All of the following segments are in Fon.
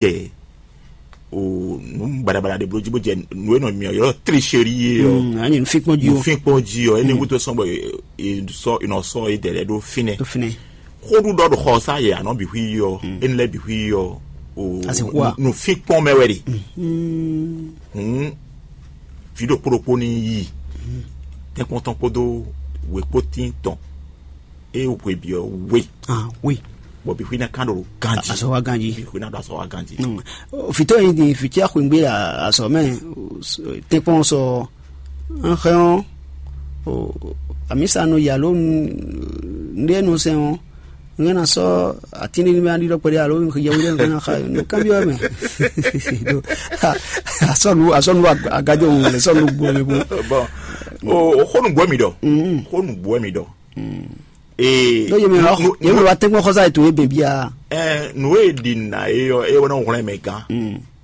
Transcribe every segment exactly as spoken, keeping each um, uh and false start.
jɛ o nǔ baɖabaɖa ɖé bló jí bó jɛ nǔ e nɔ mì ɔ́ ylɔ́ tricherie ɔ́. Mm, anyi nǔfínkpɔ́n jí o. Nǔfínkpɔ́n jí ɔ́, énɛ́ wútu sɔ́ bɔ è sɔ́ è nɔ sɔ́ é dɛ̌ lɛ́ɛ ɖó fínɛ́. Tó fínɛ́. Xóɖuɖɔ ɖo xɔ sá yɛ anɔ bǐ xwí ɔ́, énɛ́ lɛ́ɛ bǐ xwí ɔ́, o Asixu a? Nǔfínkpɔ́n mɛ wɛ ɖe. Hǔn vǐ ɖokpó ɖokpó ní yi tɛ́nkpɔ́n tɔn kpódó wěkpótín tɔn, é hwe byɔ́ we. Ah, oui. Bɔ bǐ xwí ná kán ɖo ganjí. Azɔ̌ wa ganjí. Bǐ xwí ná ɖo azɔ̌ wa ganjí. Fitɔ yi ni fitya xwengbe azɔ mɛ tɛkpɔn sɔ nxɛ ɔ amisa nɔ yalo nɖe nɔ sɛn ɔ nge na sɔ atin ɖe mɛ aɖi ɖɔ kpɛɖe alo yɛwi ɖe nge na xa no kan bi mɛ asɔnu asɔnu agajɔ ŋu le sɔnu gbɔ mɛ bo. Bon, o o xónu gbɔ mi ɖɔ. Xónu gbɔ mi ɖɔ. Ee, ɖó yemɛ wa nu- yemɛ wa tɛgbɔn xɔsa ètò yé bɛn bia. Ɛ nǔ e ɖi nǎ é ɔ́ é wɛ nɔ hwlɛ́n mɛ gán.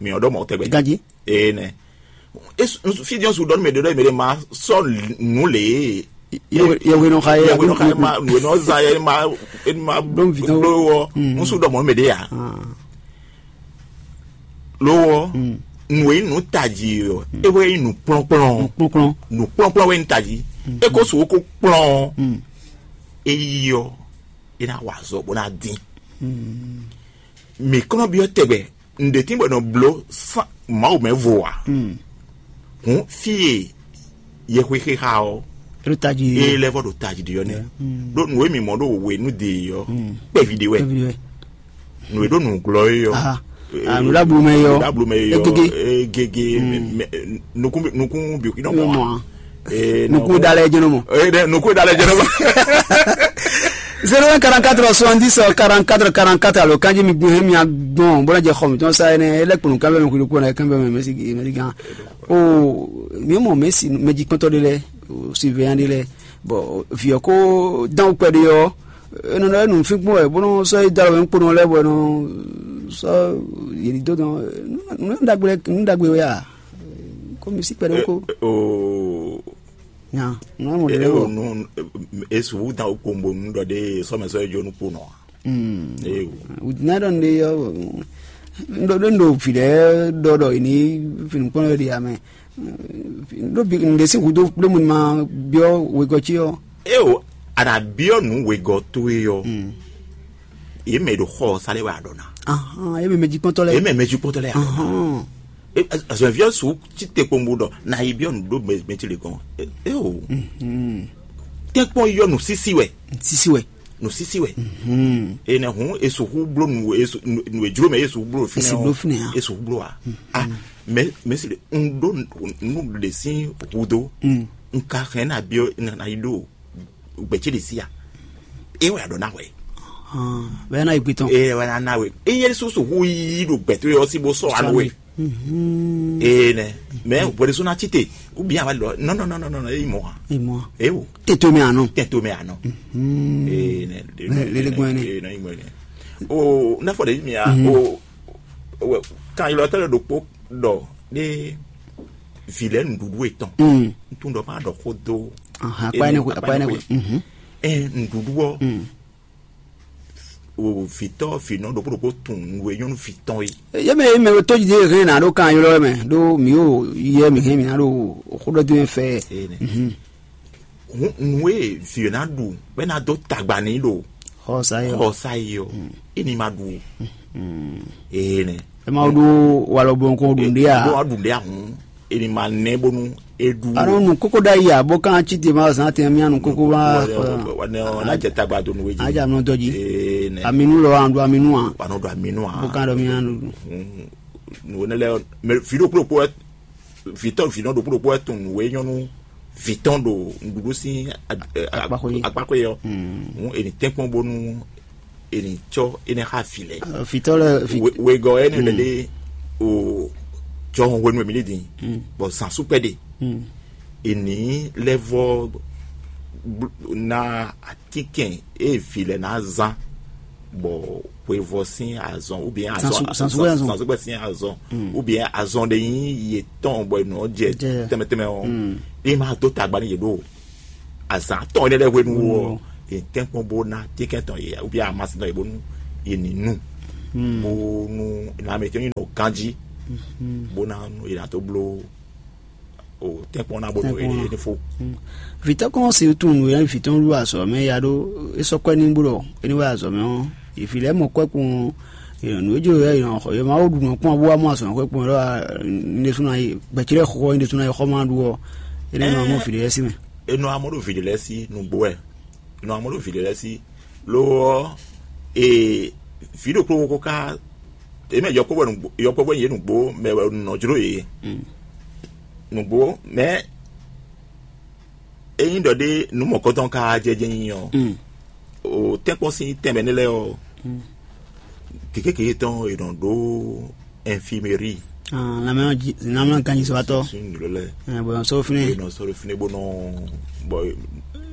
Mi ɔ́ ɖɔ mɔ̌ tɛgbɛ. Ganji. Ee nɛ. Fídíɔn su ɖɔ nú mɛ ɖe ɖɔ mɛ ɖe ma sɔ nǔ lě. Yɛwe nɔ xa yɛ Yɛwe nɔ xa yɛ ma nǔ e nɔ za yɛ ma e ma Ɖó vǐ tɔn. Ɖó wɔ ŋsu ɖɔ mɔ̌ mɛ ɖe ya. Lo ɔ nǔ e nyí nǔ tají ɔ́ é wɛ nyí nǔ kplɔ́nkplɔ́n. Kplɔ́nkplɔ́n. Nǔ kplɔ́nkplɔ́n wɛ nyí tají. É ko su ko kplɔ́n ɔ́, é yi ɔ́ é ná wa azɔ̌ bó ná dín. Mǐ kɔn nɔ byɔ́ tɛgbɛ nǔɖé tín bɔ è nɔ bló sán Mawu mɛ vo ǎ. Hǔn fí e yɛhwexe xa ɔ́ Ɖo tají. Ée lɛ́ vɔ ɖo tají ɖi ɔ́ nɛ́. Ɖó nǔ e mǐ mɔ ɖó wěnú de ɔ́ kpɛví ɖé wɛ. Kpɛví ɖé wɛ. Nǔ e ɖó nǔglɔ́ é ɔ́. Aha. Ah, nǔɖablomɛ é ɔ́. Nǔɖablomɛ é ɔ́. Egege. Egege. Nukún nukún bìkú nɔ mɔ. Nukún dalɛ jɛnɛ mɔ. Nukún dalɛ jɛnɛ mɔ. Zéro un quarante-quatre soixante-dix quarante-quatre quarante-quatre alo kanji mi gbin hɛn mi agbɔn bɔlá jɛ xɔ mi tɔn sa ɛnɛ ɛlɛ kpɔnɔ kan bɛ mi kudu kpɔnɔ kan bɛ mi mɛsi mɛsi gan. O mi mɔ mɛsi mɛji kpɔntɔ de lɛ o surveillant de lɛ. Bon, vǐ ɔ́ kó dán wú kpɛɖé ɔ́, é nɔ ɖɔ é nǔfínkpɔ́n wɛ bó nɔ́ sɔ́ yi dó alɔ mɛ kponɔ lɛ́ɛ bɔ é nɔ sɔ́ yě dó dɔn nǔ ɖagbe lɛ́ɛ nǔ ɖagbe wɛ a? Kó mi sí kpɛɖé kó. Oo. Nya nǔ amɔ ɖé lɛ́ɛ wɔ. Esu wú dán wú kpombo nǔ ɖɔ ɖé sɔmɛ sɔ́ yi jó nú kponɔ a? Ee. Wùdí náà ɖɔ nɖe yɔ ndo ɖo ndo vǐ ɖe ɖɔ ɖɔ yi ní finukpɔn ɖe ɖi amɛ. Ɖo bi nɖe sín hudo ɖo mu ma biɔ wegɔ ci ɔ. Eo, a nǎ byɔ́ nǔ wegɔ́ towe ɔ́, yě mɛ e ɖo xɔ ɔ́ sa lɛ́ wɛ a ɖɔ ná. Ahan, yě mɛ mɛ jikpɔ́ntɔ lɛ. Yě mɛ mɛ jukpɔ́ntɔ lɛ́ a ɖɔ ná. Ahan. Azɔ̌viɔ su ci te kpombo ɖɔ na yi byɔ́ nǔ ɖó mɛtí le gɔn. Eo. Tɛ́nkpɔ́n yɔ nǔsísí wɛ. Sisi wɛ. Nǔsísí wɛ. Enɛ hǔn e sixú bló nǔ e su- nǔ e jló mɛ e sixú bló Esi fínɛ́ bló ɔ́, fínɛ́ a? E sixú bló a? A mɛ mɛ si ɖe un ɖó nǔ ɖe sín hudo. Un ka hɛn na byɔ́ na yi ɖó gbɛ̌ ce ɖe sí a? E wɛ a ɖɔ na hwɛ. Bɛɛ na yi gbe tɔn. E wɛ na na hwɛ. E yɛ sixú sixú yí ɖo gbɛ̌ tó yɔ sí bó sɔ́ alo wɛ. Ee nɛ. Mɛ hwɛɖésú ná tite ubi awa lɔ nɔ nɔ nɔ nɔ nɔ eyi mɔ ha. Imɔ. Ewo. Tètò mi àná. Tètò mi àná. Ee nɛ. Lele gbɔn ne. Ee nɛ imɔ ne. O n'a fɔ de mi a o wɛ kan yɔlɔ tɛlɛ ɖokpo ɖɔ ɖe vi lɛ nuɖuɖu etɔn. Ntun ɖɔ ma ɖɔ xó do. Akpa ne ko akpa ne ko. Ɛ nuɖuɖu ɔ. O vǐtɔ́ vǐnɔ ɖokpó ɖokpó tunwun nǔ e nyɔ́ nú vǐ tɔn é. Yé mɛ yé mɛ tó jí hɛn ná ɖó kan ylɔ́ mɛ ɖó mǐ o yɛ mǐ hɛn mǐ ná ɖo xó ɖɔ dín fɛ. Nǔ e vǐ ɔ́ ná ɖu bɔ é ná dó tagba n'i ɖo xɔsa yɔ xɔsa yi ɔ é ní ma ɖu o. Ee nɛ. Ɛ ma ɖó walɔ bɔ nukɔn ɖu ɖe a? Ɖó wa ɖu ɖe ahun. Eni ma nɛ bónú é ɖu. Anɔ nu kókó ɖ'ayǐ ǎ, bó kan cí te ma zán tɛn mía nu kókó wá. Wá ne ɔ́ ná jɛ tagba dó nǔ é jí. Adza nɔ dɔ jí. Ee nɛ. Aminu lɔ an ɖo aminu a? Wà nɔ ɖo aminu a? Bó kan ɖɔ mía nu. Nǔ énɛ́ lɛ́ɛ mɛ vǐ ɖokpó ɖokpó wɛ vǐtɔ́ vǐnɔ ɖokpó ɖokpó wɛ tun nǔ é nyɔ́ nú vǐtɔn ɖo nǔɖuɖu sín akpákó yɛ ɔ́. Hǔn eni tɛ́nkpɔ́n bónú eni tsɔ ene xa fi lɛ. Fitɔ lɛ fi. Wegɔ ene lɛ de o jɔhɔn hwenu mi ni din bɔn zan sukpɛ de eni lɛ vɔ na atikɛn e vi lɛ na zan bɔ hwevɔ sin azɔn ou bien azɔn Zan sukpɛ sin azɔn ou bien azɔn de yin ye tɔn bɔ enɔ jɛ tɛmɛ tɛmɛ ɔ e ma do tagba ni ye do azan tɔn ne lɛ hwenu wɔ ye tɛnkpɔn bo na tikɛn tɔn ye ou bien amasi tɔn ye bonu ye ni nu. bó nú nǎ mǐtɔn nyí nɔ ganjí, bó ná nú è nǎ dó bló o tɛ́nkpɔ́n ná bó nú é ní fó. Vǐtɔ́ kɔn si tunwun nǔ e vǐ tɔn ɖu azɔ̌ mɛ ya ɖó é sɔ́ kwɛ́ n'i bó ɖɔ é ní wá azɔ̌ mɛ ɔ́, vǐ lɛ́ɛ mɔ kwɛ́ kpowun. Nǔ e jló yɛ yɔ xɔ yɔ Mawu ɖu nɔ kpɔ́n bó wá mɔ azɔ̌ mɛ kwɛ́ kpowun ɖɔ ní ɖésú ná yi gbɛ̌ ce lɛ́ɛ xo ɔ́ ní ɖésú ná yi xɔ ma ɖu ɔ́, énɛ́ nɔ mɔ vǐ lɛ́ɛ sí mɛ. Enɔ amɔ ɖo vǐ lɛ́ɛ sí nǔgbó wɛ. Enɔ amɔ ɖo vǐ lɛ́ɛ sí. Lo ɔ́, ee, vǐ ɖokpó ko ká, é mɛ yɔkpɔ́vɔ nǔgbó, yɔkpɔ́vɔ yě nǔgbó mɛ wɛ nɔ jló yě. Nǔgbó mɛ ényí ɖɔ ɖé nǔ mɔ̌kɔtɔn ka jɛ jɛ nyi ɔ́, o tɛ́nkpɔ́n sín tɛnmɛ nɛ́ lɛ́ɛ ɔ́, kékéké tɔn è nɔ ɖó infirmerie. Lanmɛ ganzisɔ́watɔ́. Sín nǔ lɛ́ɛ bɔn sɔ́ fínɛ. È nɔ sɔ́ ɖo fínɛ bó nɔ bɔ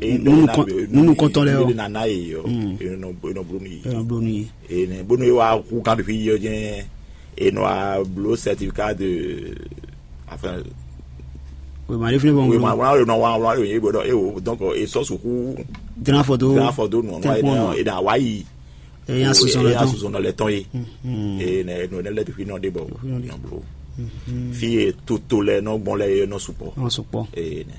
Nunu kɔn- nunu kɔntɔn lɛ o. Nana ye ɔ, è nɔ bló nú yě. Ɛ bló nú yé. Ene bónú é wá kú kan ɖo fí yɔ jɛn, è nɔ wá bló certificat de, enfin, Wema ɖé fínɛ bɔ oui, ŋgbe. Wá wá nɔ wá wá yé bɔ e o donc e sɔ sukú Gran fɔ do. Gran fɔ do nɔ Tɛn wá kpɔn nɔ. E na wá yi. Ɛ yà sɔsɔ lɛ tɔn. Sɔsɔ lɛ tɔn ye. Ene no ne lɛ fi nɔ de bɔ. Fi nɔ de. Nɔ blo. Fi e toto lɛ nɔ gbɔn lɛ ye nɔ supɔ. Nɔ supɔ. Ene.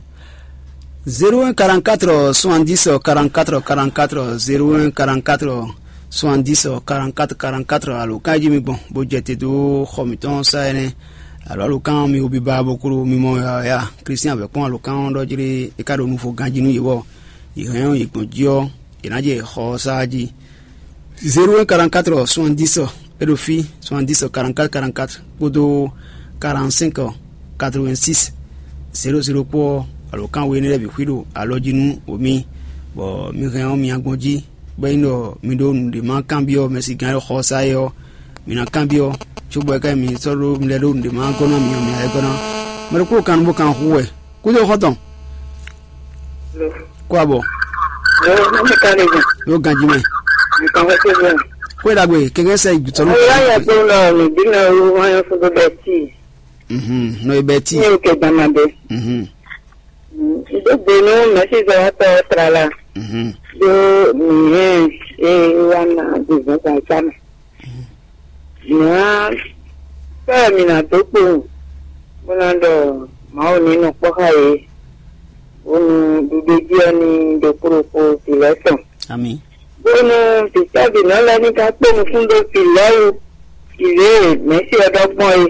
Zéro un quarante-quatre soixante-dix quarante-quatre quarante-quatre, zéro un quarante-quatre soixante-dix quarante-quatre quarante-quatre. Alo kan jí mi gbɔn bó jɛ te dó xɔ mǐtɔn sa ɛnɛ. Alo alo kan mi wo biba bó klo mi mɔ ya ya Kristian vɛ kpɔn alo kan ɖɔ jlé e ka ɖo nufo ganjí nú yě bɔ yě hɛn yě gbɔn jí ɔ́, yě ná jɛ xɔ sa jí. Zéro un quarante-quatre soixante-dix, é ɖo fí, soixante-dix quarante-quatre quarante-quatre kpódó quarante-cinq quatre-vingt-six zéro zéro kpó ɔ́, alo kan we énɛ́ lɛ́ɛ bǐ xwí ɖo alɔ jí nú wǒ mì, bɔ mi hɛn ɔ́ mi nyagbɔn jí, bɔ é nyí ɖɔ mi ɖó nǔɖé ma kanbyɔ́ mɛ̌sigán e xɔ sa é ɔ́, mi ná kanbyɔ́, cóbɔ é ká nyí mi sɔ́ ɖó mi lɛ́ ɖó nǔɖé ma gɔ́ ná mi ɔ́, mi ná lɛ́ gɔ́ ná. Mɛ ɖokpó kan nú bó kan hu wɛ, kúdó xɔ́ntɔn, kó abɔ, Yo, ne ka ɖe gan. Yó ganjí mɛ. Nǹkan fẹ́ tó bẹ́ẹ̀. Kó é ɖagbe, kɛkɛ sɛ ìgbìtọ́ ló. Ọlọ́yà tó lọ nìbínú ooru wọn yẹn fún bẹ́ẹ̀ tí. Mhm, nɔ ibɛ tí. Ní o kẹ gbàmà bẹ́ẹ̀. Mhm, Ìdógbénú mẹ́sìzọ́ tọ́ tlala. Mhm, Dó mìíràn ẹ wá ná gbèsè kan sámà. Mǐ á sɔ́ mǐ ná dó kpowun, bó ná ɖɔ Mawu ní nɔ kpɔ́ xá yě, bónú ɖuɖéjí ɔ́ ní ɖokpó ɖokpó vǐ lɛ́ɛ tɔn. Amì. Bónú vǐtɔ́vǐnɔ lɛ́ɛ ní ka kpó nukún dó vǐ lɛ́ɛ wú, vǐ lě e mɛ̌si ɔ́ ɖɔ gbɔn é.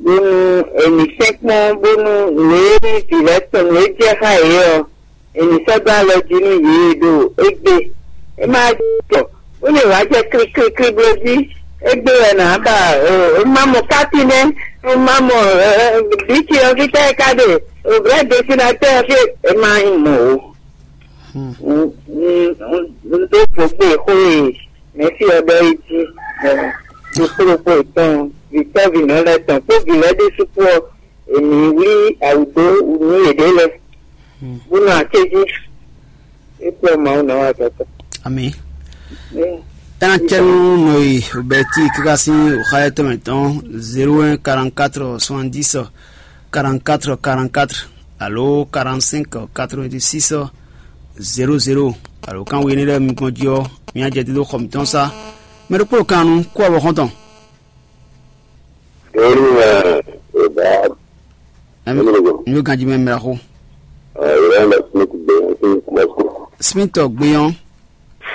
Bónú è nǐ sɛ́nkpɔ́n bónú nǔ e nyí vǐ lɛ́ɛ tɔn nǔ e jɛ xá yě ɔ́, è nǐ sɔ́ dó alɔ jí nú yě ɖo égbé. É má jɔ, bónú è wǎ jɛ kliklikli bló jí, égbé wɛ nǎ ba. É má mɔ káti nɛ́, é má mɔ bíci ɔ́ fítɛ́ é ká ɖe, vrɛ́ desinatɛ́ ɔ́ fí é má nyí mɔ̌ ó. Un dó vo kpé xó e mɛ̌si ɔ́ ɖɔ é jí, ɖokpó ɖokpó yětɔn, vǐtɔ́vǐnɔ lɛ́ɛ tɔn kpó vǐ lɛ́ɛ ɖésú kpó ɔ́, è nǐ wlí awǔ dó nú yěɖée lɛ́ɛ, bó nɔ akéjí. É kplɔ́ Mawu nɔ wá tɔtɔ. Amì. Ena cɛnu nɔ yi bɛti kaka sín oxa etɔn mɛ tɔn zéro un quarante-quatre soixante-dix quarante-quatre quarante-quatre alo quarante-cinq quatre-vingt-six zéro zéro. Alo kan wé ne lɛ mi gbɔn jí ɔ, mi ajɛ dídó xɔ mǐtɔn sá. Mɛ ɖokpó kan nu kó abɔ xɔntɔn. Doni mɛ o ba Ɛm, Ɛmɛ ko. Mi yóò ganjí mɛ mìíràn xó. Ɛ, ìrẹ́ ń lọ sí ti gbé sí Moscou. Smith gbéyàn.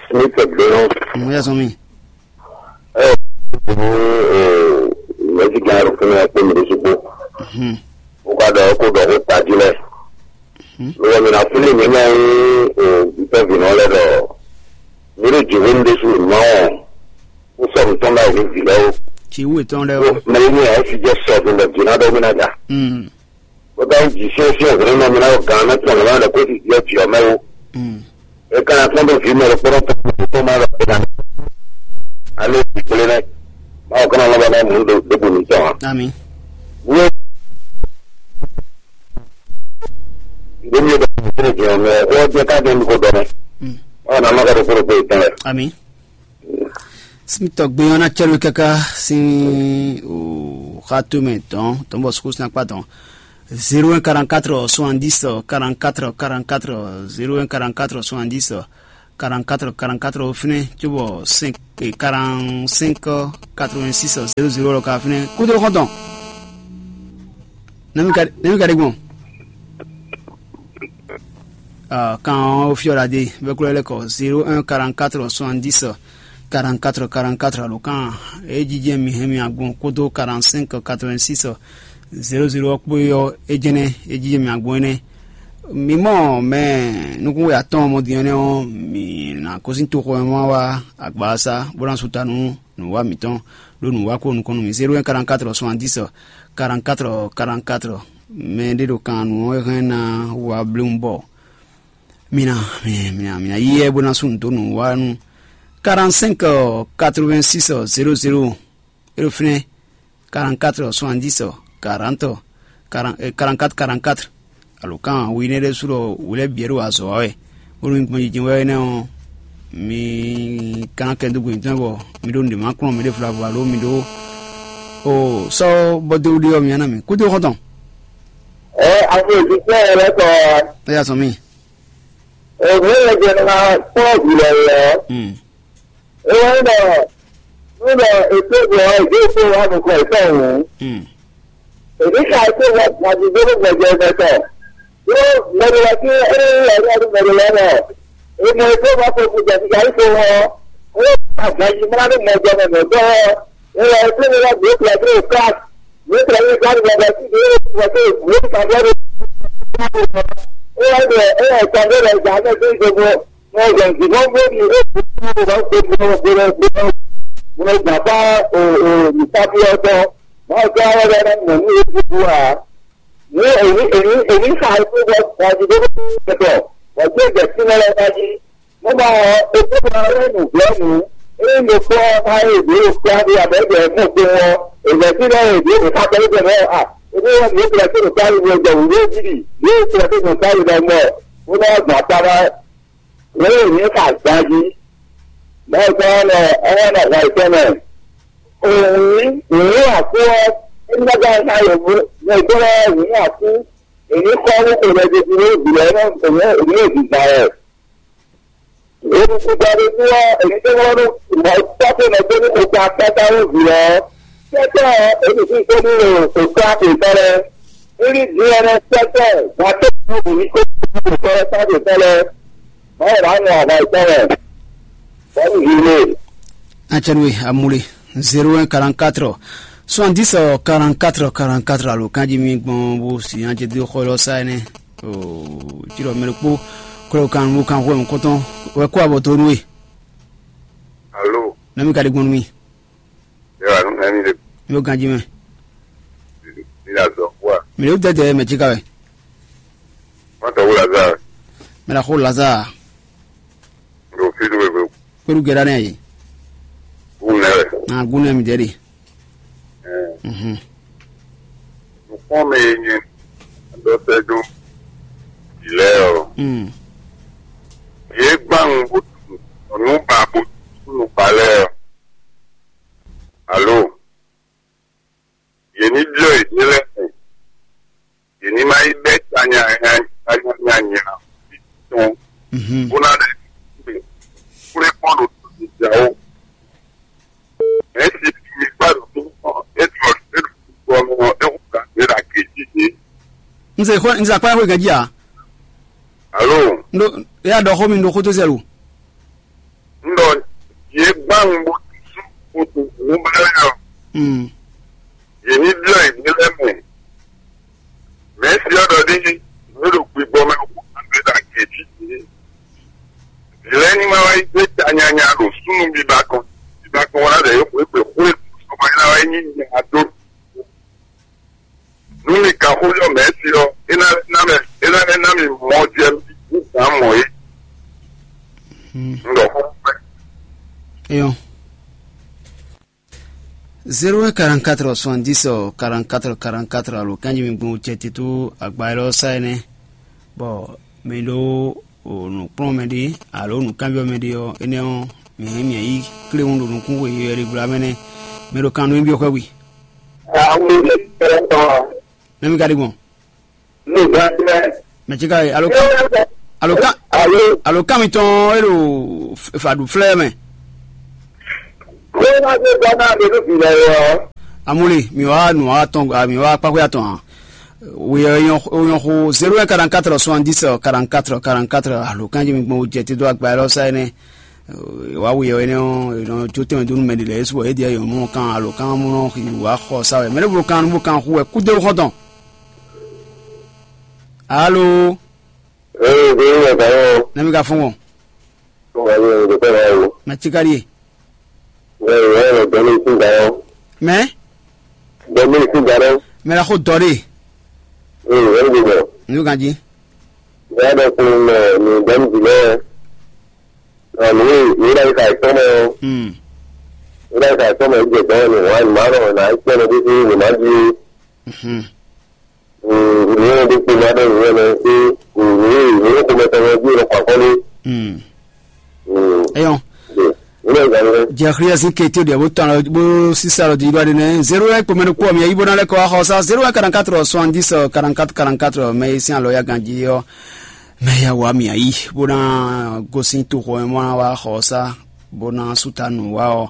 Smith gbéyàn. Mo yà sọ mi. Ɛ, mo, ɛ, mɛsi gan ro fún ẹ pé mi ɖésú kpó. Ó ká dɔ kó dɔ kó tají lɛ. Lọ́wọ́ mi na fúlì mi náà ń o ìfẹ́ bìnú lẹ dɔ. Mi lè jì wí ní ɖésú mọ́. Ó sọ nǹkan báyìí ní ìbílẹ̀ o. Kì í wò tán lẹ o. Mẹ ní ẹ fi jẹ sọ tó lọ jìnnà dọ mí náà dà. Mm. Ó bá ń jì sí ẹsẹ̀ ọ̀gbìn náà mi náà gan náà tán lọ́wọ́ rẹ̀ kó sì jẹ́ jì ọmọ o. Mm. Ẹ ká yà kán tó fi mẹ́rin kpọ́nrọ́ tó tó tó máa lọ pé náà. Alẹ́ ìpínlẹ̀ náà. Báwo kán náà lọ́wọ́ náà mú un dógbò ní tán wa. Ami. Wọ́n ìdómi ọ̀dọ̀ tó tó jẹ́ ọmọ ẹ̀ wọ́n jẹ́ ká dé ní kó dọ́ mẹ́. Mm. Báwo náà má ká tó kúrò pé ìtàn rẹ̀. Ami. Simi tɔgbe ɔ́ ná cɛ́ nú kaka sín o xato mɛ dɔn tɔn bɔ suku sín akpa dɔn. Zéro un quarante-quatre soixante-dix quarante-quatre quarante-quatre, zéro un quarante-quatre soixante-dix quarante-quatre quarante-quatre ɔ́ fínɛ́ cóbɔ cinq quarante-cinq quatre-vingt-six zéro zéro ɔ́ ka fínɛ́ kúdó xɔ́ntɔn. Nɛmí ka ɖe gbɔn? Kan ɔ́ fyɔ́ ɖa dé bɛ́ kúlɛ́ lɛ́ kɔ zéro un quarante-quatre soixante-dix quarante-quatre quarante-quatre alo kan é jijɛ mi hɛn mi agbɔn kódó quarante-cinq quatre-vingt-six zéro zéro ɔ́ kpó é ɔ́ é jɛnɛ é jijɛ mi agbɔn énɛ́. Mi mɔ mɛ nukúnwe atɔ́ɔn mɔ din énɛ́ ɔ́, mi nǎ kɔ́ sín toxo e ma wá agbawasa bó ná su ta nú nǔwá mǐtɔn ɖó nǔwá kó nukɔn nú mì. Zéro un quarante-quatre soixante-dix quarante-quatre quarante-quatre. Mɛ ɖé ɖo kan nǔ ɔ́ hɛn ná wá bléwún bɔ mi ná mi ná mi ná mi ná yí ɛ bó ná sú nǔ dó nǔwá nú quarante-cinq quatre-vingt-six zéro zéro. É ɖo fínɛ́ quarante-quatre soixante-dix quarante quarante-quatre quarante-quatre. Alo kan wi énɛ́ ɖésú ɖɔ wǔ lɛ́ bǐ wɛ ɖo azɔ̌ wa wɛ, bónú mi gbɔn jijɛ wɛ énɛ́ ɔ́, mi ka ná kɛ dó gbe mǐtɔn bɔ mi ɖó nǔɖé ma kplɔ́n mi ɖé vlavo alo mi ɖó o sɔ́ bɔ dó ɖe ɔ́ mi ná mi kúdó xɔ́ntɔn. Ɛ ame òjijɛ yɛ lɛ kɔ. É yà sɔn mì. Òhun yɛ jɛ ná kplɔ́ vǐ lɛ yɛ ɔ́. Mm. É wɛ ɖɔ nú ɖɔ è tó gbɔ ɔ́, è dó kpó wá nukɔn yětɔn hǔn. Mm. Èbí ka é tó wá gbadidó nú gbɛjɛ mɛ tɔn. Ɖó mɛɖé wɛ tí é yí wɛ ní mɛɖé lɛ́ɛ mɛ. È mɔ é tó wá kó gbɛjɛ kíkà yí kó wá ɔ́, é wá gbadidó mlá nú mɛjɛ mɛ mɛ tɔn ɔ́. É wɛ é tó wá gbé gbadidó ká. Gbé gbadidó ká ní gbadidó tí é wá tó gbé gbadidó. É wá ɖɔ é wá gbadidó lɛ gbà mɛ tó ń gbogbo. Wọ́n yàn jù wọ́n gbé ní èkó tí wọ́n bá gbé ní wọ́n gbé ní wọ́n gbé ní wọ́n gbà bá nìkábí ọdún. Wọ́n gbé ara rẹ̀ mọ̀ ní èkó wa. Ní èyí èyí èyí ká èkó wọ́n wọ́n ti dé pẹ̀tọ̀. Wọ́n gbé ìgbẹ́ sí wọn lọ́wọ́ jí. Wọ́n máa èkó máa rẹ́ nù bẹ́ẹ̀ nù. Èyí ló kọ́ máa ń èdè òkú àbí àbẹ̀jẹ̀ mú pé wọ́n. Ìgbẹ́ sí náà èdè òkú ká pẹ̀lú pẹ̀lú à. Èdè wọn ní ìgbẹ́ sí òkú àbí wọ́n jẹ̀ wúlé jìbì. Yóò ṣe é fún ìgbà yìí lọ́mọ. Wọ́n máa gbà para. Wéè ní kà gbájí, báyìí kí wọ́n lọ ọwọ́ náà wá ìtọ́ náà. Òun ní òun àkú ọ́, nígbàgbà náà yóò mú ní ìgbọ́nà òun àkú, èmi kọ́ owó kò lọ jẹjẹrẹ ní ìbílẹ̀ náà òun èmi ò dìgbà rẹ̀. Èmi ti gba ní tí wọ́n èmi tí wọ́n ní ìmọ̀ tọ́kùn náà tó ní kò gba pátá ní ìbílẹ̀ ọ́. Tẹ́tẹ́ èmi sì tó ní òkú àpò ìtọ́rẹ. Níbi díẹ̀ náà tẹ́tẹ́ wọ́n tó ní òkú ìtọ́rẹ sábì tọ́lẹ̀. Báwo la nù àbá ìtọ́rẹ? Bọ́ọ̀lù yìí lè. Acɛnwe amuli zéro un quarante-quatre soixante-dix quarante-quatre quarante-quatre alo kanji mi gbɔn bo si an jɛ do xɔ lɔ sa ɛnɛ. Tsi lɔ mɛ ɖokpo kɔlɔ kan wo kan xɔ mɛ kɔtɔn wɛ kó abɔ to nú we. Alo. Nami ka ɖe gbɔn nú mi. Yɔ anu nani de. Mi ɖo ganji mɛ. Mi la zɔ kua. Mi ɖo dɛdɛ mɛ tsika wɛ. Mɔtɔ wo Lazare. Mi la xo Lazare. Ɖo fi ɖo ebe. Kpeɖu gɛɖa nɛ yi. Gun nɛ wɛ. Na gun nɛ mi dɛ ɖi. Mhm. Nukpɔn mɛ ye nyɛ dɔ sɛ do. Ilɛ ɔ. Mm. Ye gban bo nu ba bo nu ba lɛ ɔ. Alo. Yě ní byɔ́ yěɖée lɛ́ɛ mɛ. Yě ní ma yi bɛ́ tanyanya tanyanya tɔn bó ná ɖe kplé kpɔ́n ɖo tɔjíjǎ ó. Mɛ̌si mi kpá ɖo tó kpɔ́n é ɖo é ɖo kpɔ́n é xo gǎn é ɖo agě jí yě. Nze xɔ nze akpa xɔ gɛdzi a? Alo. Ndo ya dɔ xɔ mi ndo xɔ to zɛlu. Un ɖɔ yě gbán un bó sú kpoto nǔ ba lɛ́ɛ ɔ́, yě ní byɔ́ yě ɖe lɛ́ɛ mɛ. Mɛ̌si ɔ́ ɖɔ ɖ'é nǔ e ɖo gbigbɔ mɛ ɔ́ kó nǎ ɖe ɖo agě jí jí. Vǐ lɛ́ɛ ní ma wá yi dó ta nyanya ɖo súnnu biba kɔn, biba kɔn wá ɖe yě xwé xwé xwé sɔmɔ é ná wá yi nyí nya dó. Nú mi ka xó yɔ mɛ̌si ɔ́, é ná ná mɛ é ná ná mi mɔ jɛ mi gǎn mɔ é. Un ɖɔ xó pɛ. Eyɔn. Zéro un quarante-quatre soixante-dix quarante-quatre quarante-quatre alo kanji mi gbɔn cɛ tito agba élɔ́ sa énɛ́. Bɔ mi ɖó nǔkplɔ́nmɛ ɖé alo nǔkanbyɔ́mɛ ɖé ɔ́, énɛ́ ɔ́, mǐ hɛn mǐ yi kléwún ɖo nukún xweyǐyɔ ɖé gbla mɛ nɛ́. Mɛ ɖo kan nú nyi byɔ́ xwɛ wi. Nɛ́ mi ka ɖe gbɔn? Mɛ ce ka alo kan alo kan Alo, alo kan mitɔn e ɖo faɖu flɛ mɛ. Ko ma dé bɔ na le nu bi lɛ yɔ. Amuli, mi wa nu wa tɔn, mi wa kpakpé atɔn. Wi yɔ yɔ xo zéro un quarante-quatre soixante-dix quarante-quatre quarante-quatre. Alo kan jí mi gbɔn jɛ te do agba yɛ lɔ sa ɛnɛ. Wa wi yɔ ɛnɛ ɔ, nɔ jo tɛmɛ do nu mɛ de lɛ yesu wɔ e diɛ yɔ mɔ kan alo kan mɔ nɔ xi wa xɔ sa wɛ mɛ ne bo kan bo kan xu wɛ kudo xɔtɔn. Alo. Ee, bí wọ́n gbà yẹn o. Nami ka fún wọn. Wọ́n gbà yẹn o, dèpẹ́ náà o. Mɛ tsi ka ɖie. Wọ́n yẹn wọ́n yẹn dɔn ní ìsìn gbà yẹn o. Mɛ. Dɔn ní ìsìn gbà yẹn o. Mɛ la xo dɔ ɖe. Ee, wọ́n gbé bọ̀. Nu kan jí. Wọ́n yà dọ̀ kun mɛ ní dɔn ní ìsìn gbà yẹn. Nà ní ní ìlà ìka ìtọ́ mọ́. Hmm. Ní ìlà ìka ìtọ́ mọ́ ìjẹ́ gbà yẹn ni wọ́n á ní má rọ̀ nà ìpẹ́ ní bí sí ní má di. Mhm. Ìyẹn ní kí n bá dẹ̀ ìyẹn lọ sí ìwé ìwé kó mẹ́ta wọn bí ọ̀rọ̀ pàkọ́ ní. Hmm. Eyɔn. Ìwé ìgbà yẹn. Jɛxliyɛ sin kete ɖe bó tɔn bó sisa lɔ di ɖɔ ɖe nɛ zéro un kpɔmɛ ɖokpɔ mi ayi bó ná lɛ kɔ axɔ sa zéro un quarante-quatre soixante-dix quarante-quatre quarante-quatre mɛ yi sin alɔ ya ganji yɔ mɛ ya wa mi ayi bó ná gosin to xɔ mɛ mɔ ná wa axɔ sa bó ná suta nù wa ɔ.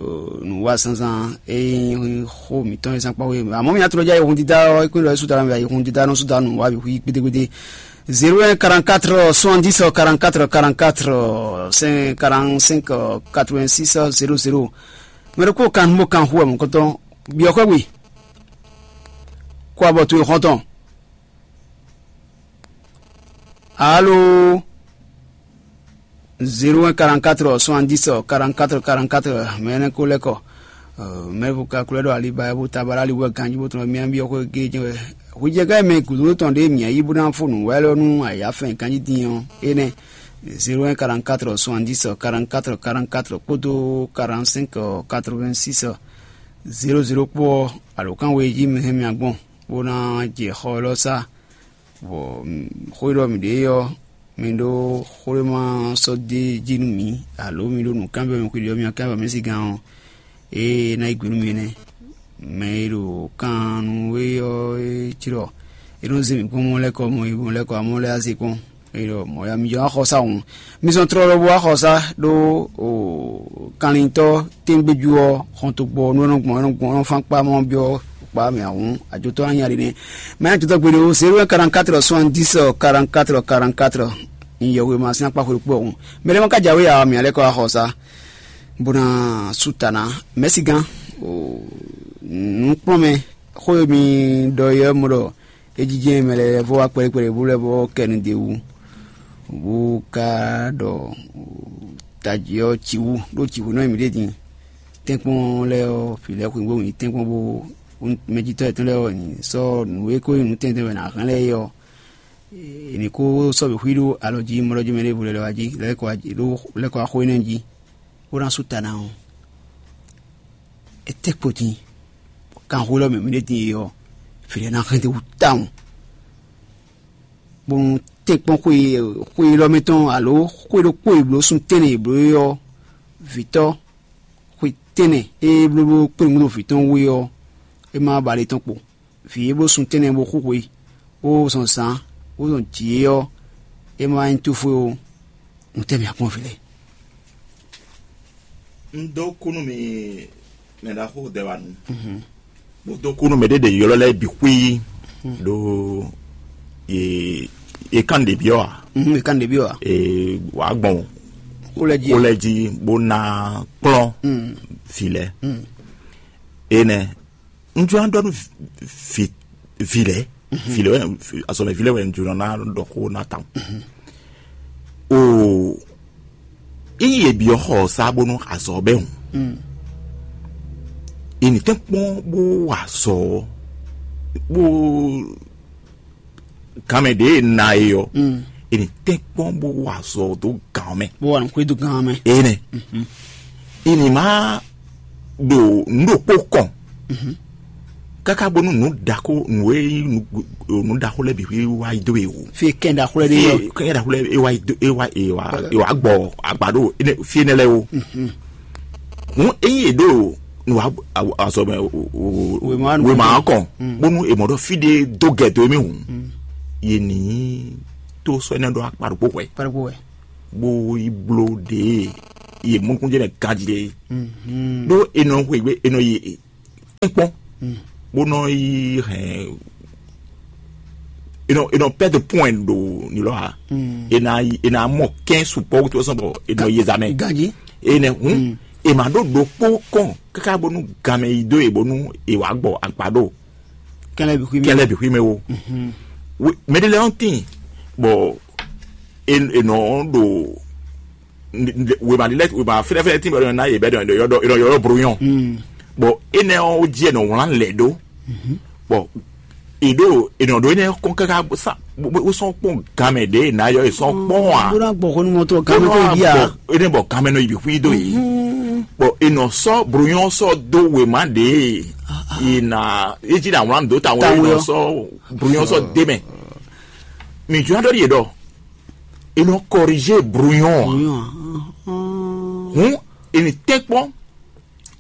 Nǔwa zǎnzǎn e nyí xó mǐtɔn e zán kpɔ́ xwé amɔ̌ mǐ atɔ́ jɛ ayihun dídá ɔ́ é kún ɖɔ é sú dá mɛ ayihun dídá nɔ sú dá nǔwa bǐ xwí gbédégbédé. Zéro un quarante-quatre soixante-dix quarante-quatre quarante-quatre cinq quarante-cinq quatre-vingt-six zéro zéro. Mɛ ɖokpó kan bó kan xú wɛ mɔ̌kɔtɔn byɔ̌ xwé we kó abɔ towe xɔ́ntɔn. Alo. Zéro un quarante-quatre soixante-dix quarante-quatre quarante-quatre mɛ nɛ ko lɛ́ kɔ. Mɛ bu ka kulɛ ɖo aliba bu tabala ali wɛ ganji bo tɔn mia bi ɔkɔ ge jɛ wɛ. Hujɛgɛ mɛ gudu tɔn ɖe mia yi bu na fo nu wɛ lɔ nu aya fɛn ganji din ɔ. Enɛ zéro un quarante-quatre soixante-dix quarante-quatre quarante-quatre kpódó quarante-cinq quatre-vingt-six zéro zéro kpó ɔ alo kan we ji mɛ hɛn mia gbɔn bo na jɛ xɔ lɔ sa. Bɔ xó e ɖɔ mǐ ɖe é ɔ́, mi ɖó xwléma sɔ́ d'é jí nú mǐ, alo mi ɖó nǔ kanbyɔ́ mɛ xwé ɖi ɔ́, mi wá kanbyɔ́ mɛ sín gán ɔ́, ée é ná yí gbe nú mi nɛ́. Mɛ e ɖo kan nú we ɔ́ é cí ɖɔ é nɔ zé mǐ kpɔ́n mɔ lɛ́ kɔ mɔ e mɔ lɛ́ kɔ amɔ lɛ́ azé kpɔ́n. É ɖɔ mɔ̌ ya mi jɔ axɔsa hǔn. Mi zɔn tlɔlɔ bó axɔsa ɖó kanlintɔ́ tɛ́ngbéjú ɔ́ xɔntogbɔ nú é nɔ gbɔn é nɔ gbɔn é nɔ fán kpá mɔ byɔ́ kpá mɛ ahǔn ajotɔ́ ná nya ɖi nɛ́. Mɛ ajotɔ́ gbeɖé ó zéro un quarante-quatre soixante-dix quarante-quatre quarante-quatre. Nyɛ wema sín akpá xwé kpó ɔ́ hǔn. Mɛ ɖé ma ka jǎwe ǎ mǐ alɛ́ kɔ axɔsa bó ná sú ta ná. Mɛ̌si gán nǔkplɔ́nmɛ xó e mi ɖɔ é ɔ́ mɔ ɖɔ é jínjɛ́n mɛ lɛ́ɛ vɔ wá kpɛɖé kpɛɖé bó lɛ́ vɔ kɛ nu d'é wú, bó ka ɖɔ tají ɔ́ ci wú ɖó jǐxwé nɔ e mǐ ɖe din. Tɛ́nkpɔ́n lɛ́ɛ ɔ́, vǐ lɛ́ɛ xweyǐgbe wǔ nyi tɛ́nkpɔ́n bó mɛjitɔ́ yětɔn lɛ́ɛ ɔ́ nyi sɔ́ nǔ e ko nyí nǔ tɛntɛn wɛ è nǎ hɛn lɛ́ɛ é ɔ́, è nǐ kó sɔ́ bǐ xwí ɖó alɔ jí mɔ ɖɔ jí mɛ ɖěvo lɛ́ lɔ wá jí lɛ́ kɔ wá xo énɛ́ jí, bó ná sú ta ná ɔ́. Etɛ́ kpo din? Kanxwé lɔ mɛ mǐ ɖe din e ɔ́, vǐ lɛ́ɛ ná hɛn dó wú tawun. Bónú tɛ́nkpɔ́n xwé xwé élɔ́ mɛ tɔn alo xwé ɖokpó e bló sun tɛ́nnɛ e bló é ɔ́, vǐtɔ́ xwé tɛ́nnɛ e bló bló kpléwún ɖo vǐ tɔn wú é ɔ́, é má ba ale tɔn kpo. Vǐ e bló sun tɛ́nnɛ bó xú xwe, bó zɔn zǎn, bó zɔn jǐ é ɔ́, é má nyí tófó ó. Nǔtɛ́ mǐ akpɔ́n vǐ lɛ́ɛ? Un dó kú nú mi mɛ ɖaxó Dɛwanu. Bó dó kú nú mɛ ɖé ɖe ylɔ́ lɛ́ɛ bǐ xwí ɖó ye ye kán ɖě byɔ́ a? Mhm, e kan ɖě byɔ́ a? Ee, wǎ gbɔn Xó lɛ́ jí. Xó lɛ́ɛ jí bó ná kplɔ́n vǐ lɛ́ɛ. Énɛ́ un jló ná ɖɔ nú vǐ vǐ lɛ́ɛ vǐ lɛ́ɛ wɛ azɔ̌mɛ vǐ lɛ́ɛ wɛ un jló ná ɖɔ xó ná tawun. Oo, ényí yě byɔ́ xɔ ɔ́ sá bónú azɔ̌ ɔ́ bɛ́ hǔn, è nǐ tɛ́nkpɔ́n bó wa azɔ̌ ɔ́ bó ganmɛ ɖě e na e ɔ́, è nǐ tɛ́nkpɔ́n bó wa azɔ̌ dó gǎn ɔ́ mɛ. Bó wa nǔ xwedó gán mɛ. Énɛ́ è nǐ má ɖo nǔ ɖokpó kɔn káká bónú nǔ ɖaxó nǔ e nyí nǔ nǔ ɖaxó lɛ́ɛ bǐ wá yi dó e o. Fi kɛn ɖaxó lɛ́ɛ ɖe yɔ. Kɛn ɖaxó lɛ́ɛ e wá yi dó e wá e wá e wá gbɔ agbado fi énɛ́ lɛ́ɛ o. Hǔn ényí è ɖo nǔ azɔ mɛ wema kɔn bónú è mɔ ɖɔ fí ɖé dó gɛ dó émí hǔn, yě ní tó sɔ́ énɛ́ ɖó akpa ɖokpó hwɛ̌, Kpɛɖokpó wɛ. Bó yi bló ɖě e yě mɔ nukúnjɛ mɛ ganjí ɖe é. Ɖó è nɔ xweyǐgbe, è nɔ yi tɛ́nkpɔ́n, bó nɔ yi hɛn, è nɔ, è nɔ pɛ́ de pɔ́n ɖo nilɔ́ ǎ. È nɔ yi, è nɔ mɔ kɛ́n sukpɔ́ wútu sɔ́ bɔ è nɔ yi zǎmɛ. Ganjí. Enɛ hǔn, è ma ɖó ɖokpó kɔn káká bónú ganmɛ yi dó e bónú è wǎ gbɔ agba ɖo Kɛlɛ bixwi mɛ. Kɛlɛ bixwi mɛ wo. Mɛ ɖé lɛ́ɛ ɔ́ tíin bɔ è nɔ ɖo wěma ɖi lɛ wěma fɛ́nɛfɛ́nɛ tín bɔ è nɔ ná yě bɛ ɖɔ è nɔ yɔ́ bro nyɔ́. Bɔ énɛ́ ɔ́ jí è nɔ wlán lɛ̌ ɖó. Bɔ è ɖo è nɔ ɖo énɛ́ kɔn káká sa wó sɔ́ kpɔ́n gan mɛ ɖě è nǎ yɔ è sɔ́ kpɔ́n ǎ. Bó ná gbɔ xó nú mɔtɔ gan mɛ tó yi bia. Énɛ́ bɔ gan mɛ nɔ yi bǐ xwí dó yě. Bɔ è nɔ sɔ́ bro nyɔ́ sɔ́ dó wěma ɖě è nǎ é jí ná wlán dó ta wɛ è nɔ sɔ́ bro nyɔ́ sɔ́ dé mɛ. Mǐ jló ná ɖɔ ɖi yě ɖɔ è nɔ kɔrizé brouillon ǎ. Hǔn è nǐ tɛ́nkpɔ́n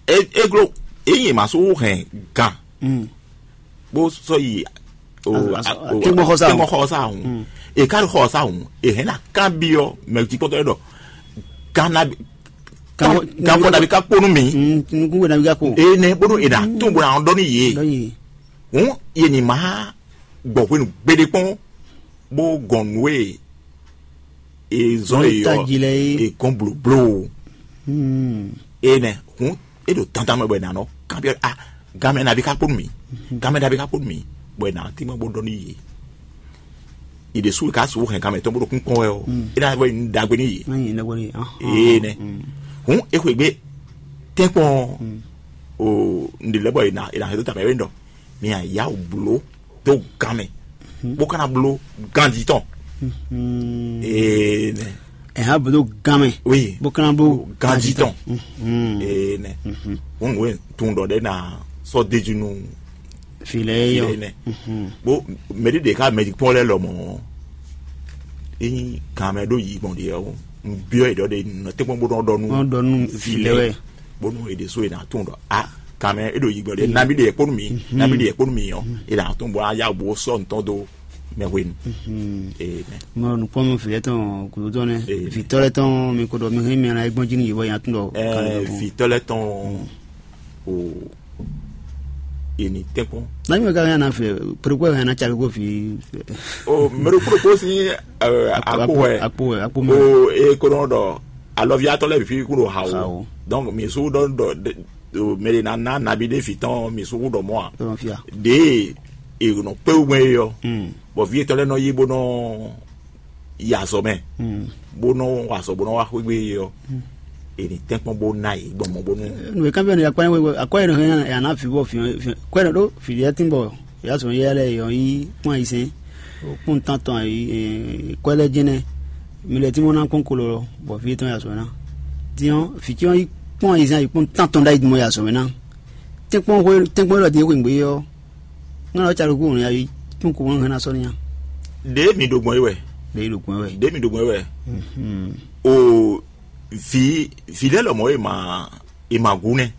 é glo ényí è ma sú hɛn gan bó sɔ́ yi tɛ́nkpɔ́n xɔ sá hǔn è ká ɖo xɔ sá hǔn è hɛn ná kanbyɔ́ mɛ jí kpɔ́tɔ́ ɖɔ gan ná gan bɔ nàbí ká kpó nú mǐ. Nukún bɔ nàbí ká kpó. Énɛ́ bónú è nǎ tún bó ná ɖɔ nú yě. Hǔn yě ní má gbɔ hwenu gbeɖé kpɔ́n bó gɔn nǔ e è zɔ́n Nǔ e è ɔ́ tají lɛ́ɛ é. È gɔn blǒbló o. Énɛ́ hǔn é ɖo dandan mɛ bɔ è nǎ nɔ kanbyɔ́ a gamɛ nabí ká kpó nú mì gamɛ nabí ká kpó nú mì bɔ è nǎ tínmɛ bó ɖɔ nú yě. Yě ɖésú è ká sixú hɛn gamɛ tɔn bó ɖo kún kpɔ́n wɛ ɔ́ é ná vɔ nyi ɖagbe nú yě. Má nyɛ ɖagbe nú yě. Énɛ́ hǔn é xwegbe tɛ́nkpɔn o ǹɖe lɛ́ bɔ è nǎ è nǎ hɛn dó tamɛ é ɖɔ mi a yá wǔ bló dó gan mɛ bó ka ná bló ganjí tɔn. Ee nɛ. Ɛ hã bló gan mɛ. Oui. Bó ka ná bló ganjí tɔn. Ee nɛ. Ŋun nǔ e tun ɖɔ ɖe na sɔ déjú nú fi lɛ yɔ. Fi lɛ nɛ. Bó mɛɖi ɖe ká mɛɖi kpɔn lɛ lɔmɔ. Eyin gan mɛ ɖó yi gbɔn ɖe ɔ́, un byɔ́ yi ɖɔ ɖe nɔ tɛ́nkpɔn bó nɔ ɖɔ nú. Nɔ ɖɔ nú fi lɛ wɛ. Bónú è ɖe so è nǎ tunwun ɖɔ a kan mɛ é ɖo yigbɔ ɖe nabí ɖe yɛ kpónú mi nabí ɖe yɛ kpónú mi ɔ́ è nǎ tunwun bɔ á yá bo sɔ́ nǔtɔn dó mɛ hwenu. Ee, mɛ. Mɔ nukpɔmɔ vǐ lɛ́ɛ tɔn gǔdo tɔn nɛ. Ee. Vǐtɔ́ lɛ́ɛ tɔn mi ko ɖɔ mi hɛn mi ana e gbɔn jí nú yě bɔ nya tún ɖɔ. Ɛɛ, vǐtɔ́ lɛ́ɛ tɔn o, è nǐ tɛ́nkpɔ́n. Nani mɛ ka hɛn ana fɛ pérépéré hɛn ana cakó fi. O mɛɖokpóɖokpó sín akpó wɛ akpó wɛ akpó mɛ. O e ko nɔ ɖɔ alɔviatɔ lɛ fi kún ɖo ha o. Donc mi su ɖɔ ɖɔ mɛ ɖe na na nabi ɖe fi tɔn mi su ɖɔ mɔ a. Ɖe e nɔ kpé wú mɛ e yɔ bɔ vi etɔn lɛ nɔ yi bó nɔ yi azɔ mɛ bó nɔ wa azɔ bó nɔ wa xwégbe e yɔ e ni tɛnkpɔn bó ná yi gbɔn mɔ bó nú. Nú e kan fɛn ne akɔ ye akɔ ye nɔ hɛn ya na fi bɔ fi kwɛ nɔ ɖo fi ɖe tin bɔ ya sɔ yɛ lɛ yɔ yi kpɔn yi sɛn kpɔn tan tɔn yi kwɛ lɛ jɛnɛ mi lɛ tin mɔ na kpɔn kolo lɔ bɔ fi tɔn ya sɔ na tiɲɔ fi tiɲɔ yi kpɔn yi sɛn yi kpɔn tan tɔn ɖa yi mɔ ya sɔ na tɛnkpɔn hwe tɛnkpɔn lɔ din hwe ngbe yɔ ŋa lɔ ca ɖo gu ya yi kpɔn ko ŋa na sɔ nya. Ɖe mi ɖo gbɔn yi wɛ. Ɖe yi ɖo gbɔn yi wɛ. Ɖe mi ɖo gbɔn yi wɛ. O vi vi lɛ lɔmɔ e ma e ma gu nɛ.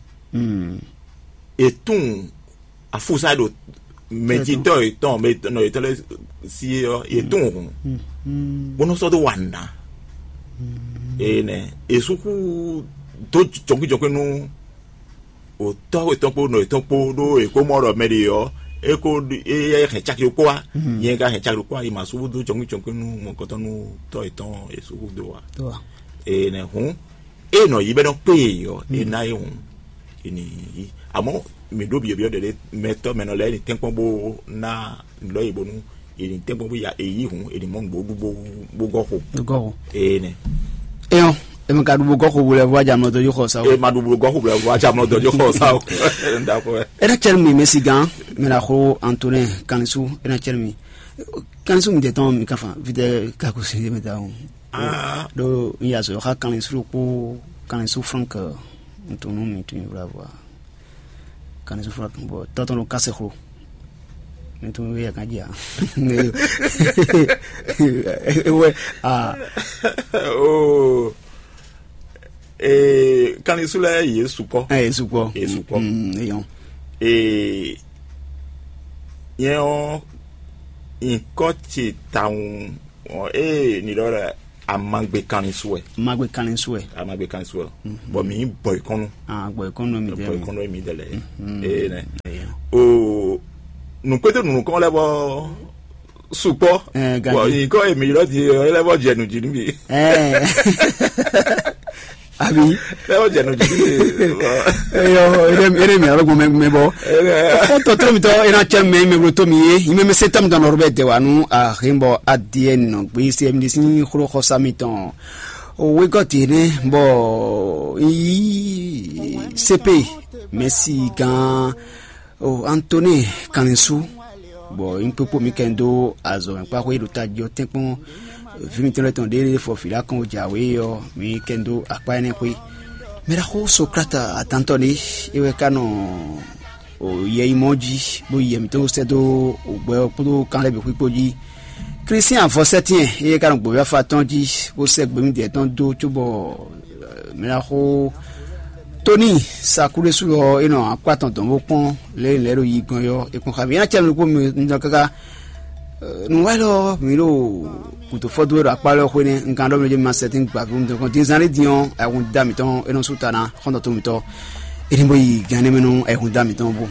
E tún afusa ɖo mɛjitɔ etɔn mɛ nɔ etɔn lɛ si ɔ e tún hun bó nɔ sɔ dó wa nà. Ene esuku dó jɔnkújɔnkú nú o tɔ́ etɔn kpó nɔ etɔn kpó ɖó e kó mɔ ɖɔ mɛ ɖe ɔ e kó e hɛn caki ɖokpó wa nyɛ ka hɛn caki ɖokpó wa yi ma subu dó jɔnkújɔnkú nú mɔkɔtɔn nú tɔ́ etɔn esuku dó wa. Ene hun e nɔ yi bɛ nɔ kpé e yɔ e na e hun e ni yi amɔ mi ɖo biɔ biɔ ɖeɖe mɛtɔ mɛ nɔ lɛ e ni tɛnkpɔn bó na lɔ yi bonu e ni tɛnkpɔn bó ya e yi hun e ni mɔ nugbo ɖu bó bó gɔ xo. Gɔ xo. Ee nɛ. Eyɔn, emi ka ɖu bó gɔ xo wulɛ vɔ adza mlɔ dɔ yi xɔ sa o. E ma ɖu bó gɔ xo wulɛ vɔ adza mlɔ dɔ yi xɔ sa o. Ndakɔ. Ena cɛn mi mɛ si gan mɛ la xo Antonin Kanisu ena cɛn mi. Kanisu mi tɛ tɔn mi ka fa vitɛ kakusi mi ta o. Ɖo n ya sɔ xa kanlin suru kpó kanlin su frank ntunu mi tun wla vɔ kanlin su frank bɔ tɔtɔ ɖo kase xlo mi tun yɛ kan dzi a ewɛ a. Kanlin su lɛ yesu kɔ. Yesu kɔ. Yesu kɔ. Eyɔn. Nyɛ ɔ nyikɔ ce tawun. Ɔn, ee, ni ɖɔ lɛ amagbe kanlin su wɛ. Magbe kanlin su wɛ. Amagbe kanlin su wɛ. Bɔn mi bɔ ikɔnnu. Ah, bɔ ikɔnnu mi bɔ ikɔnnu mi dɛ lɛ. Ee nɛ. O nukpete nunu kɔn lɛ bɔ sukpɔ. Ɛɛ, gadi. Bɔn ikɔ emi lɔ di lɛ bɔ jɛ nu di nu bi. Ɛɛ. Abi. Lɛ bɔ jɛ nu di nu bi. Eyɔ, ere ere mi alo gbɔn mɛ bɔ. Fɔ tɔtɔ mi tɔ ena cɛ mɛ mɛ bolo to mi ye. Ime mɛ se tam dɔn ɔrɔ bɛ dɛ wa nu a hin bɔ adiɛ nɔ gbe se mi sin xlo xɔsa mi tɔn. O wegɔti ne bɔ yi sepe mɛsi gan o Antoni kanlinsu. Bɔ nyí kpékpó mi kɛn dó azɔ̌ mɛ kpá xwé ɖo tají ɔ́ tɛ́nkpɔ́n. Vǐ mitɔn lɛ́ɛ tɔn ɖé fɔ fǐ ɖó akɔn jǎwe ɔ́, mi kɛn dó akpá énɛ́ xwé. Mɛ ɖaxó Sokrate atantɔ ɖé é wɛ ka nɔ yɛ yi mɔ jí, bó yi yɛ mǐtɔn sɛ́ dó gbɛ ɔ́ kpódó kan lɛ́ɛ bǐ xwíkpó jí. Klísián avɔsɛ́tɛ́n éyɛ́ ka nɔ gbǒví afa tɔn jí, bó sɛ́ gběmídɛɛ tɔn dó cóbɔ mɛ ná xó Tóni Sakúɖésú ɔ́, é nɔ akpá tɔn dɔn bó kpɔ́n lě e lɛ̌ ɖo yi gbɔn é ɔ́, é kpɔ́n xá mì. É ná cɛ nukpó mi nɔ káká nǔwá élɔ́ mǐ ɖo gǔdo fɔ́dú e ɖo akpá lɛ́ɛ xwé nɛ́. Un kan ɖɔ mɛ jɛ ma sɛtín gbǎví mi dɔn dín zán ní din ɔ́, ayɛhun da mǐtɔn é nɔ sú ta ná xɔ́ntɔn tó mǐtɔn. É ní bó yi gǎn énɛ́ mɛ nú ayɛhun da mǐtɔn bó.